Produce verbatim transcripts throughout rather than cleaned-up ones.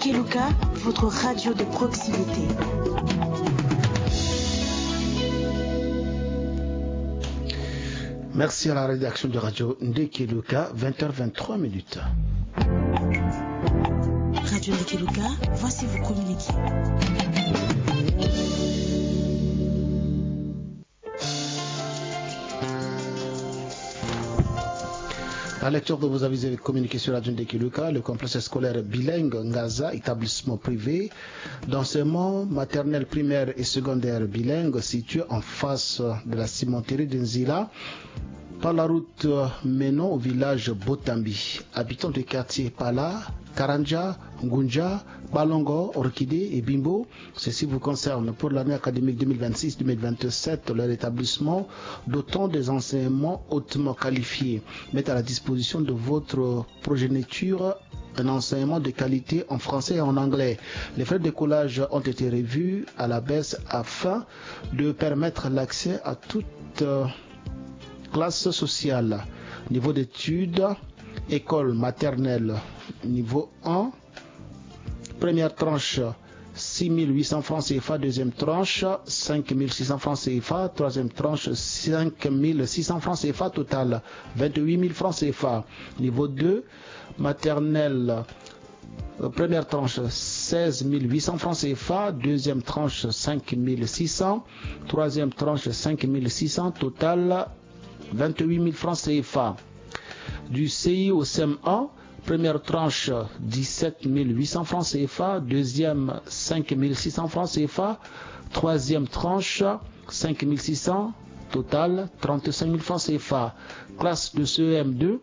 Keluka, votre radio de proximité. Merci à la rédaction de Radio Ndekeluka, vingt heures vingt-trois minutes. Radio Ndekeluka, voici vos communiqués. La lecture de vos avis et communiqués sur Radio Ndekeluka. Le complexe scolaire bilingue Ngaza, établissement privé d'enseignement maternel, primaire et secondaire bilingue, situé en face de la cimenterie de Nzila, par la route menant au village Botambi. Habitants de quartier Pala, Karanja, Ngunja, Balongo, Orchidée et Bimbo, ceci vous concerne pour l'année académique deux mille vingt-six deux mille vingt-sept. Leur établissement, dotant des enseignements hautement qualifiés, met à la disposition de votre progéniture un enseignement de qualité en français et en anglais. Les frais d'écolage ont été revus à la baisse afin de permettre l'accès à toute, euh, classe sociale. Niveau d'études, école maternelle niveau un, première tranche, six mille huit cents francs C F A, deuxième tranche, cinq mille six cents francs C F A, troisième tranche, cinq mille six cents francs C F A, total, vingt-huit mille francs C F A. Niveau deux, maternelle, euh, première tranche, seize mille huit cents francs C F A, deuxième tranche, cinq mille six cents, troisième tranche, cinq mille six cents, total, vingt-huit mille francs C F A. Du C I au C M un, première tranche, dix-sept mille huit cents francs C F A, deuxième, cinq mille six cents francs C F A, troisième tranche, cinq mille six cents, total, trente-cinq mille francs C F A. Classe de C E M deux,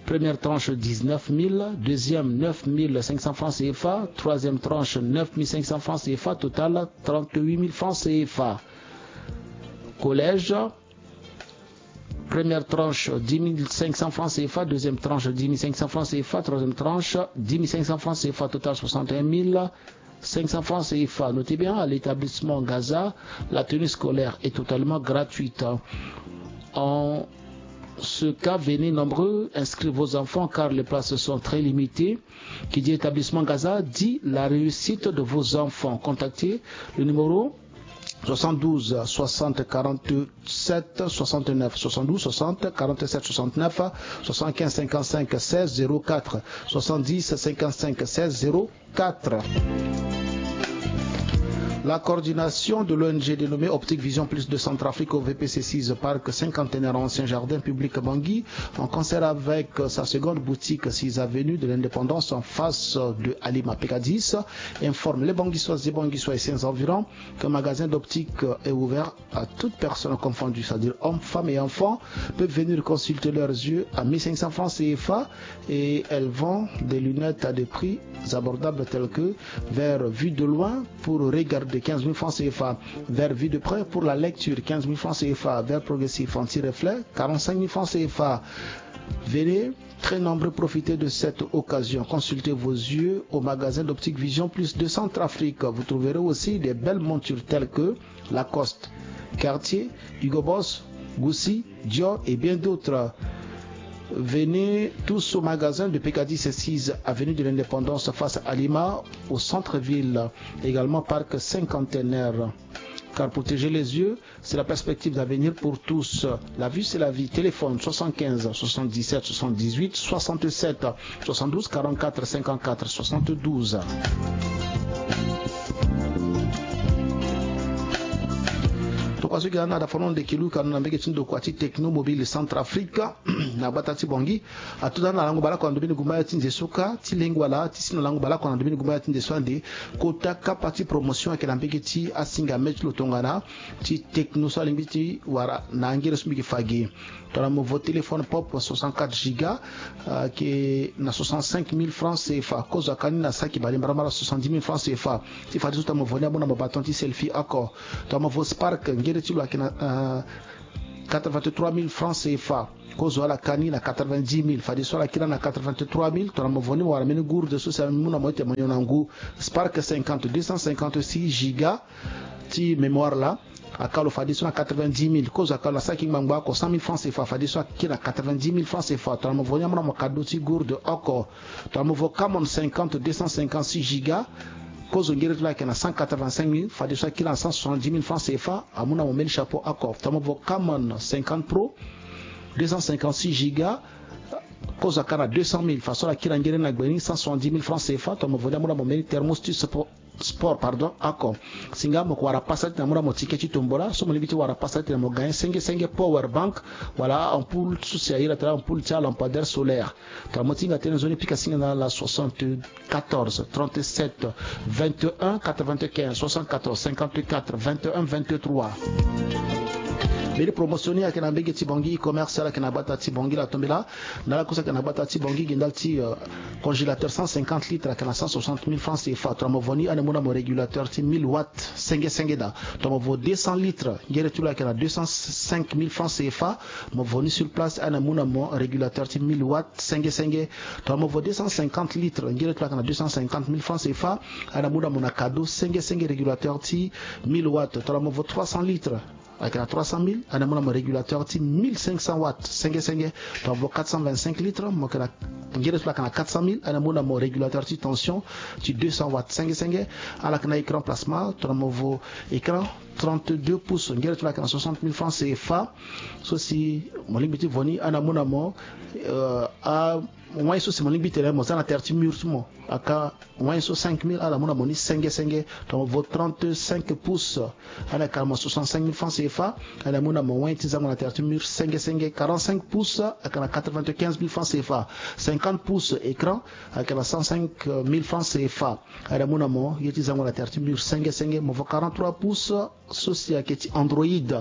première tranche, dix-neuf mille, deuxième, neuf mille cinq cents francs C F A, troisième tranche, neuf mille cinq cents francs C F A, total, trente-huit mille francs C F A. Collège, première tranche, dix mille cinq cents francs C F A, deuxième tranche, dix mille cinq cents francs C F A, troisième tranche, dix mille cinq cents francs C F A, total, soixante et un mille cinq cents francs C F A. Notez bien, à l'établissement Ngaza, la tenue scolaire est totalement gratuite. En ce cas, venez nombreux inscrire vos enfants car les places sont très limitées. Qui dit établissement Ngaza dit la réussite de vos enfants. Contactez le numéro soixante-douze soixante quarante-sept soixante-neuf, soixante-douze soixante quarante-sept soixante-neuf, soixante-quinze cinquante-cinq seize zéro quatre, soixante-dix cinquante-cinq seize zéro quatre. La coordination de l'O N G dénommée Optique Vision Plus de Centrafrique, O V P C six, parc cinquantenaire, ancien jardin public Bangui, en concert avec sa seconde boutique, six avenue de l'Indépendance, en face de Alima P K dix, informe les Banguissoises et Banguissois et ses environs qu'un magasin d'optique est ouvert à toute personne confondue, c'est-à-dire hommes, femmes et enfants, peuvent venir consulter leurs yeux à mille cinq cents francs C F A et elle vend des lunettes à des prix abordables tels que verre vue de loin pour regarder, quinze mille francs C F A, verre vue de près pour la lecture, quinze mille francs C F A, verre progressif anti-reflet, quarante-cinq mille francs C F A. Venez, très nombreux, profitez de cette occasion. Consultez vos yeux au magasin d'Optique Vision Plus de Centrafrique. Vous trouverez aussi des belles montures telles que Lacoste, Cartier, Hugo Boss, Gucci, Dior et bien d'autres. Venez tous au magasin de P K dix six, avenue de l'Indépendance, face à Lima, au centre-ville. Également parc cinquantenaire. Car protéger les yeux, c'est la perspective d'avenir pour tous. La vue, c'est la vie. Téléphone soixante-quinze soixante-dix-sept soixante-dix-huit soixante-sept, soixante-douze quarante-quatre cinquante-quatre soixante-douze. Tokua so gi na da fano nde kelu kano na mbege ti ndokua ti Techno Mobile Centrafrique na gbata ti Bangui. Ato daa na lango baleoko na ndombeni gumbaya ti nze so kâ ti lengo ala ti si na lango baleoko na ndombeni gumbaya ti nze so ande kota kapa ti promotion ayeke na mbege ti asinga me ti lo tongana ti Techno so alingbi ti wara na angere so mbi yeke fa ge. Tongana mo vo téléphone pop soixante-quatre giga, euh, ayeke na soixante-cinq mille francs C F A. Kozo akani na saki balemarama na soixante-dix mille francs C F A. Ti fadeso tongana mo vo ni amu na mo baton ti selfie oko. Tongana mo vo Spark, ngere ti lo ayeke na, euh, quatre-vingt-trois mille francs C F A. Kozo ala kani na quatre-vingt-dix mille. Fadeso ala kiri na quatre-vingt-trois mille. Tongana mo vo ni mo wara mbeni gourde so si amu na mo ti tene mo nyon na ngu. Spark cinquante, deux cent cinquante-six giga ti mémoire laa. Akalo fadeso na quatre-vingt-dix mille. Kozo akalo asara ki ngbangba oko cent mille francs C F A, fadeso akiri na quatre-vingt-dix mille francs C F A. Tongana mo vo ni amona mo cadeau ti gourde oko. Tongana mo vo Camon cinquante, deux cent cinquante-six giga. Kozo ngere ti lo ayeke na cent quatre-vingt-cinq mille, fadeso akiri na cent soixante-dix mille francs C F A, amona mo mbeni chapeau oko. Tongana mo vo Camon cinquante Pro, deux cent cinquante-six giga, kozo aka na deux cent mille, faso ala kiri na ngere ni na gbe ni cent soixante-dix mille francs C F A. Tongana mo vo ni amona mo mbeni thermos ti sport, sport, pardon, oko. Si nga mo ko wara pasa ti na amona mo ticket ti tombola, so mo lingbi ti wara pasa ti na mo gagner senge senge power bank, wala ampoule so si a iri atene ampoule ti alampadaire solaire. Tongana mo ti hinga tënë nzoni, pika singa na ala soixante-quatorze trente-sept vingt et un quatre-vingt-quinze, soixante-quatorze cinquante-quatre vingt et un vingt-trois. Mbeni promotion ni ayeke na mbege ti Bangui e-commerce, ala yeke na gbata ti Bangui la tombela. Na ala kue so ayeke na gbata ti Bangui gi ndali ti, euh, congélateur cent cinquante litres ayeke na cent soixante mille francs C F A. Tongana mo vo ni, ane mu na mo régulateur ti mille watts senge senge daa. Tongana mo vo deux cents litres, ngere ti lo ayeke na deux cent cinq mille francs C F A. Mo vo ni sur place, ane mu na mo régulateur ti mille watts senge senge. Tongana mo vo deux cent cinquante litres, ngere ti lo ayeke na deux cent cinquante mille francs C F A. Ane mu na mo na cadeau senge senge régulateur ti mille watts. Tongana mo vo trois cents litres, ayeke na trois cent mille, ane mu na mo régulateur ti mille cinq cents watts senge senge. Tongana mo vo quatre cent vingt-cinq litres, mo yeke na, ngere ti lo ayeke na quatre cent mille, ane mu na mo régulateur ti tension ti deux cents watts senge senge. Ala yeke na écran plasma, tongana mo vo écran trente-deux pouces, ngere ti lo ayeke na soixante mille francs C F A. So si mo lingbi ti vo ni, ane mu na mo, euh, a wai so si mo lingbi tene mo za na tere ti mur ti mo. Aka wai so cinq mille, ala mu na mo ni senge senge. Tongana mo vo trente-cinq pouces, ane ayeke na mo soixante-cinq mille francs C F A. Ane mu na mo wai ti zango na tere ti mur senge senge. Quarante-cinq pouces, ayeke na quatre-vingt-quinze mille francs C F A. Cinquante pouces écran, ayeke na cent cinq mille francs C F A. Ane mu na mo ye ti zango na tere ti mur senge senge. Mo vo quarante-trois pouces, so si ayeke ti Android.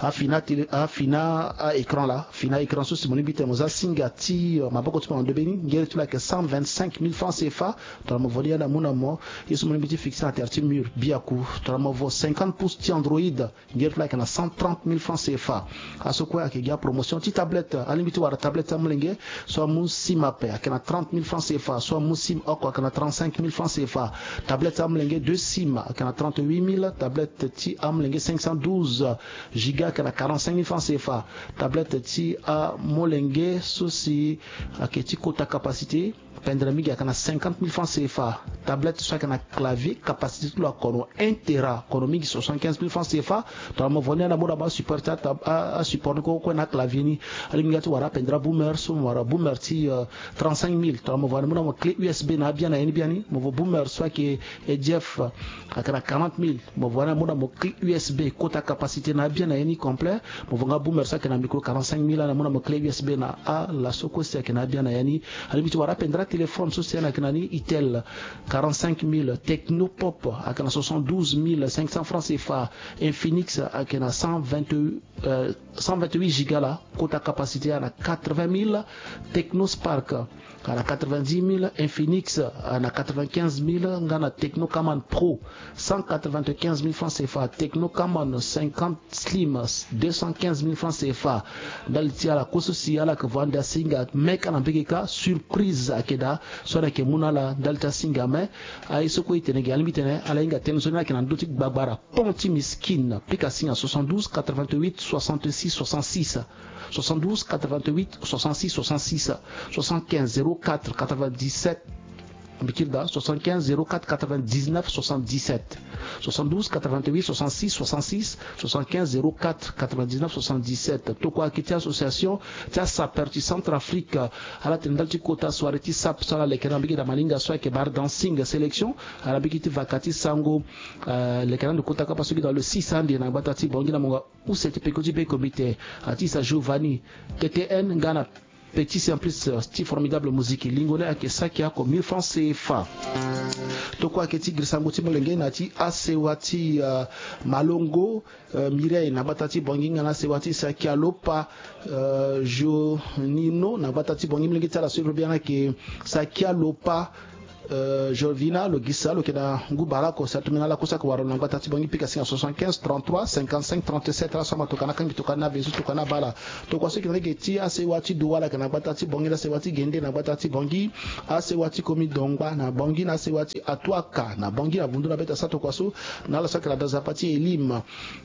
Afini atélé, afini a-écran laa, fini a-écran so si mo lingbi tene mo za singa ti, euh, maboko ti mo na ndö be ni, ngere ti lo ayeke cent vingt-cinq mille francs C F A. Tongana mo vo ni, ane amu na mo ye so mo lingbi ti fixer na tere ti mur biaku. Tongana mo vo cinquante pouces ti Android, ngere ti lo ayeke na cent trente mille francs C F A. Aso kue ayeke gi apromotion ti tablette. Alingbi ti wara tablette ti amolenge, so amu sim ape, ayeke na trente mille francs C F A. So amu sim oko, ayeke na trente-cinq mille francs C F A. Tablette ti amolenge deux sim, ayeke na trente-huit mille. Tablette ti amolenge cinq cent douze giga, ayeke na quarante-cinq mille francs C F A. Tablette ti amolenge so si ayeke ti kota capacité, pendere mingi, ayeke na cinquante mille francs C F A. Tablette so ayeke na clavier, capacité ti lo akono un téra, akono mingi, soixante-quinze mille francs C F A. Tongana mo vo ni, ane amu na mo asupport ti a tab-, a, asupport ni kue kue na clavier ni. Alingbi nga ti wara apendere aboomer, so mo wara boomer ti, euh, trente-cinq mille. Tongana mo vo, ane amu na mo clé U S B na abia na ye ni biani. Mo vo boomer so ayeke E D F, ayeke na quarante mille. Mo vo, ane amu na mo clé U S B, kota capacité na abia na ye ni complet. Mo vo nga boomer so ayeke na micro, quarante-cinq mille, ane amu na mo clé U S B na alaso kue si ayeke na abia na ya ni. Alingbi ti wara apendere atéléphone so si ane ayeke na ni Itel, quarante-cinq mille. Tecno Pop ayeke na soixante-douze mille cinq cents francs C F A. Infinix ayeke na cent vingt, euh, cent vingt-huit giga laa, kota capacité ane na quatre-vingt mille. Tecno Spark ane na quatre-vingt-dix mille, Infinix ane na quatre-vingt-quinze mille, nga na Tecno Camon Pro, cent quatre-vingt-quinze mille francs C F A, Tecno Camon cinquante Slim, deux cent quinze mille francs C F A. Ndali ti ala kue so si ala yeke vo ande asinga, me ka na mbege ka, surprise ayeke daa so ala yeke mu na ala ndali ti asinga. Me aye so kue e tene ge, alingbi tene ala hinga tënë so ni, ala yeke na ndö ti gbagbara, pont ti Miskine. Pika singa soixante-douze quatre-vingt-huit soixante-six soixante-six. Soixante-douze quatre-vingt-huit soixante-six soixante-six, soixante-quinze zéro quatre quatre-vingt-dix-sept, mbi kiri daa, soixante-quinze zéro quatre quatre-vingt-dix-neuf soixante-dix-sept, soixante-douze quatre-vingt-huit soixante-six soixante-six, soixante-quinze zéro quatre quatre-vingt-dix-neuf soixante-dix-sept. Tokua ayeke ti association ti asapeur ti Centrafrique, ala tene ndali ti kota soirée ti sap so ala leke na mbage da malinga so ayeke bar dancing sélection, ala mbage ti vaka ti sango, euh, leke na ndo kota kapa so gi dans le six ande na gbata ti Bangui na monga use ti peko ti be comité, artiste Giovanni, T T N, nga na petit simplice, euh, ti formidable musique. Lingo ni ayeke saki oko mille francs C F A. Tokua ayeke ti girisango ti molenge na ya ti asewa ti, euh, Malongo, euh, Mireille na gbata ti Bangui nga na asewa ti Sakia Lopa, euh, Jonino na gbata ti Bangui, molenge ti ala so e lo biani ayeke Sakia Lopa, Euh, Jovina lo gisa lo yeke na ngu bale oko, si atomene ala kusa ayeke wara lo na gbata ti Bangui, pika singa soixante-quinze trente-trois cinquante-cinq trente-sept. Ala so amatoka na kangbi tokua ni na avenue so tokua ni abaa ala. Tokua so ayeke na lege ti asewa ti Douala ayeke na gbata ti Bangui, na asewa ti Gende na gbata ti Bangui, asewa ti Komi Dongba na Bangui, na asewa ti Atuaka na Bangui, na vundu na beta sa tokua so, na ala so ayeke na da nzapa ti Elim.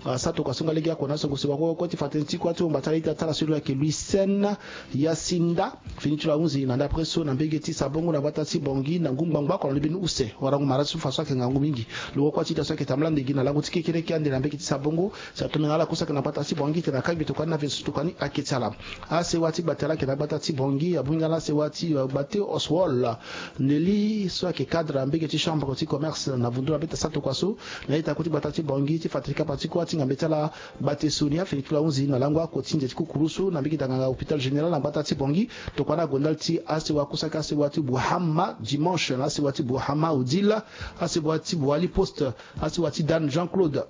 Ah, sa tokua so nga lege oko na asango sewa kue kue ti fa tënë ti kuâ ti wumba ti ala ita ti ala so lo yeke Louis Sen Yasinda. Fini ti lo ahunzi na ndapre so na mbege ti Sabongo na gbata ti Bangui na ngu ngbangbo oko na lo mbeni use warango mara ti so fa so ayeke ngangu mingi. Lo wä kuâ ti ita so ayeke tambula ndege na lango ti kekereke ande na mbege ti Sabongo, si atomene ala kusa ayeke na gbata ti Bangui titene akangbi tokua ni na avenue so tokua ni ayeke ti ala. Asewa ti Gbate ala yeke na gbata ti Bangui, abongbi nga na asewa ti, euh, Gbate Oswald Nelly so ayeke cadre na mbege ti chambre ti commerce na vundu na beta sa tokua so, na ita kue ti gbata ti Bangui ti fa tënë ti kapa ti kuâ ti ngambe ti ala Gbate Sonia, fini ti lo ahunzi na lango oko ti nze ti kukuru so na mbege danganga hôpital général na gbata ti Bangui. Tokua ni ague ndali ti asewa kusa ayeke asewa ti Buhama Dimanche, na asewa ti Buhama Odile, asewa ti Boali Poste, asewa ti Dan Jean-Claude.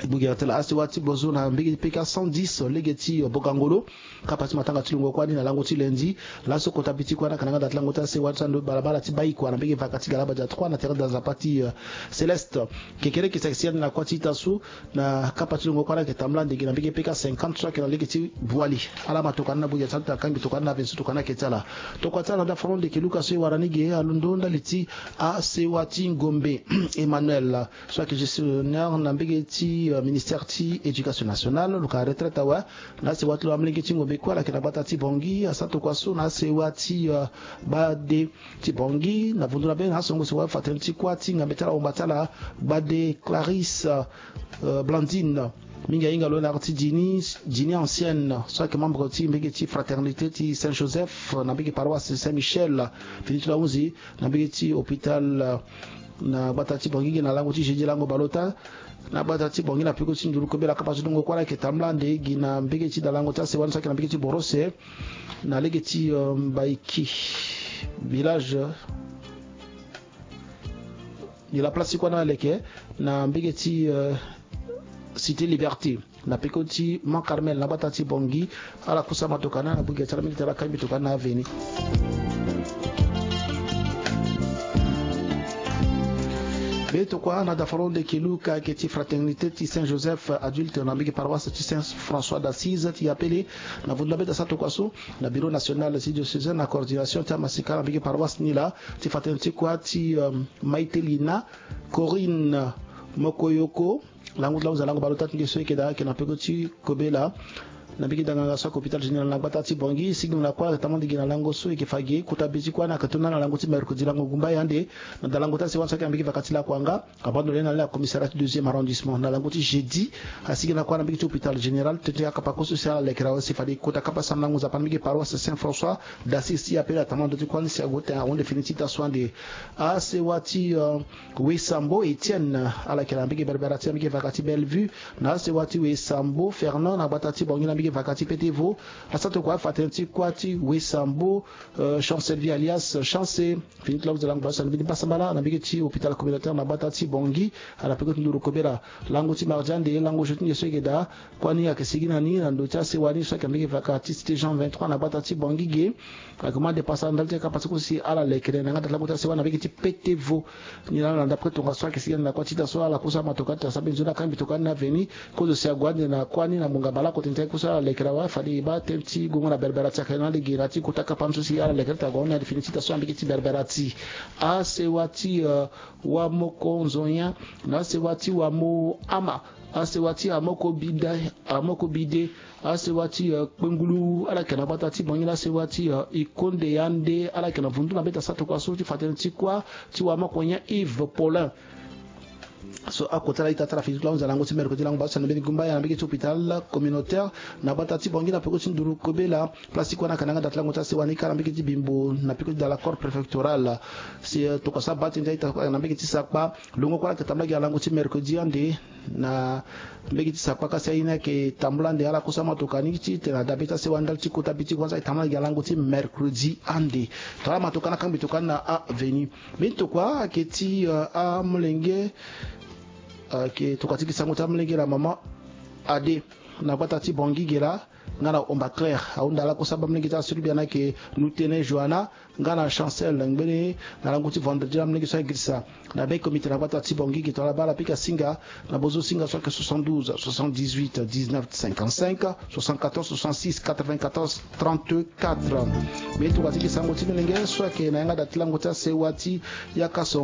Gbogere tala asewa ti Bozo na mbege ti P K cent dix lege ti, euh, Bokangolo. Kapa ti matanga ti lungo kuâ ni na lango ti lundi. Laso kota bi ti kuâ ni ayeke na nga da ti lango ti asewa ti ando balabala ti Baikua na mbege vaka ti Galabadia trois na terrain da nzapa ti, euh, Céleste. Kekereke si ayeke si ande na kuâ ti ita so na kapa ti lungo kuâ ni ayeke tambula ndege na mbege P K cinquante so ayeke na lege ti Boali. Ala amatoka ni na gbogere ti ala ti akangbi tokua ni na avenue so tokua ni ayeke ti ala. Tokua ti ala na da foro ndeke Luka so e wara ni ge alondo ndali ti asewa ti Ngombe Emmanuel so ayeke gestionnaire na mbege ti, euh, ministère ti éducation nationale, lo ka retraite awe. Na asewa ti lo amolenge ti Ngombe kue ala yeke na gbata ti Bangui. Asa tokua so na asewa ti, euh, Gbade ti Bangui na vundu na be na asongo sewa fa tënë ti kuâ ti ngambe ti ala wumba ti ala Gbade Clarisse, euh, Blandine. Mingi ahinga lo na ti Djini, Djini ancienne so ayeke membre ti mbege ti fraternité ti Saint Joseph na mbege paroisse Saint Michel. Fini ti lo ahunzi na mbege ti hôpital, euh, na gbata ti Bangui gi na lango ti jeudi lango baleota. Na gbata ti Bangui na peko ti nduru kobela kapa ti lungo kuâ ni ayeke tambula ande gi na mbege ti dalango ti asewa ni so ayeke na mbege ti Borose na lege ti, euh, Mbaiki village. Ni la place ti kuâ ni aleke na mbege ti, euh, Cité Liberté. Na peko ti Mont Carmel na gbata ti Bangui. Ala kusa amatoka ni na gbogere ti ala mingi ti ala kangbi tokua ni na avenue. Be tokua na da foro ndeke Luka ayeke ti fraternité ti Saint Joseph adulte na mbege paroisse ti Saint François d'Assise ti Yapele. Na vundu na be ti asa tokua so na bureau national ti diocésain na coordination ti amasika na mbege paroisse ni la ti fa tënë ti kuâ ti, euh, Maitelina Corinne Mokoyoko. Lango ti lango za lango baleota ti nge so e yeke daa ayeke na peko ti kobela na mbege danganga so ayeke hôpital général na gbata ti Bangui. Sigi na kuâ ayeke tambula ndege na lango so e yeke fa ge. Kota be ti kuâ ni ayeke to na lango ti mercredi lango gumba ya ande na dalango ti asewa ni so ayeke na mbege vaka ti Lakuanga. Abandonné na ala na commissariat ti deuxième arrondissement na lango ti jeudi. Asigi na kuâ na mbege ti hôpital général tënë ti akapa kue so si ala lekere awe si fade kota kapa sambelango nzapa na mbege paroisse Saint François d'Assise ti Yapele atambula ndö ti kuâ ni si ague tene ahunde fini ti ita so ande. Asewa ti, euh, Wesambo Etienne, ala yeke na mbege Berbera ti na mbege vaka ti Bellevue. Na asewa ti Wesambo Fernand na gbata ti Bangui na mbege vaka ti Petevo. Asa tokua afa tënë ti kuâ ti Wesambo, euh, Chancel Vie alias Chance. Fini ti lango ti lango baleota na mbeni pasa mbala na mbege ti hôpital communautaire na gbata ti Bangui. Ala peko ti nduru kobela lango ti mardi ande lango jeu ti nge so e yeke daa. Kuâ ni ayeke sigi na ni na ndö ti asewa ni so ayeke na mbege vaka ti cité Jean vingt-trois na gbata ti Bangui ge. Ayeke mu ande pasa ndali ti akapa ti kue si ala lekere na yanga da ti lango ti asewa na mbege ti Petevo. Ni laa na ndapre tongaso ayeke sigi ande na kuâ ti ita so ala kusa amatoka ti asara mbeni nzoni akangbi tokua ni na avenue. Kozo si ague ande na kuâ ni na ngbonga baleoko tene ti aye kue so ala lekere awe fade e baa tënë ti gongo na Berbera ti ayeke na lege na ya ti kota kapa ni so si ala lekere ti ague ahon ni ande fini ti ita so na mbege ti Berbera ti asewa ti, euh, Wamoko Nzonya na asewa ti Wamo Ama, asewa ti Amoko Bida, Amoko Bide, asewa ti, euh, Kpengulu, ala yeke na gbata ti Bangui na asewa ti, euh, Ikonde Yande, ala yeke na vundu na beta sa tokua so ti fa tënë ti kuâ ti Wamoko Nyan Yves Paulin. So akota ala ita ti ala fini ti lango ti mercredi lango baleota na mbeni gumba ya na mbege ti hôpital communautaire na gbata ti Bangui na peko ti nduru kobela. Place ti kuâ ni ayeke na yanga da ti lango ti asewa ni kâ na mbege ti Bimbo na peko ti da la cour préfectorale. Si, euh, tokua so abaa tënë ti aita na mbege ti sakpa. Lungo kuâ ni ayeke tambula gi na lango ti mercredi ande na mbege ti sakpa kasi aye ni ayeke tambula ande ala kusa amatoka ni titene adabe ti asewa ndali ti kota bi ti kuâ ni so ayeke tambula gi na lango ti mercredi ande. Tongana amatoka ni akangbi tokua ni na avenue. Mbeni tokua ayeke ti, euh, amolenge, euh, ayeke tokua ti gi sango ti amolenge na mama Ade na gbata ti Bangui ge laa. nga na Omba Claire ahunda lakue so abamalenge ti aso ti biana ayeke Nutene Johanna nga na Chancel ngbene. Na lango ti vendredi abamalenge so agirisa na be comité na gbata ti Bangui gi tongana baa na pika singa na bozo singa so ayeke soixante-douze soixante-dix-huit dix-neuf cinquante-cinq, soixante-quatorze soixante-six quatre-vingt-quatorze trente-quatre. Mbi ye tongana ti gi sango ti molenge so ayeke na yanga da ti lango ti asewa ti yaka so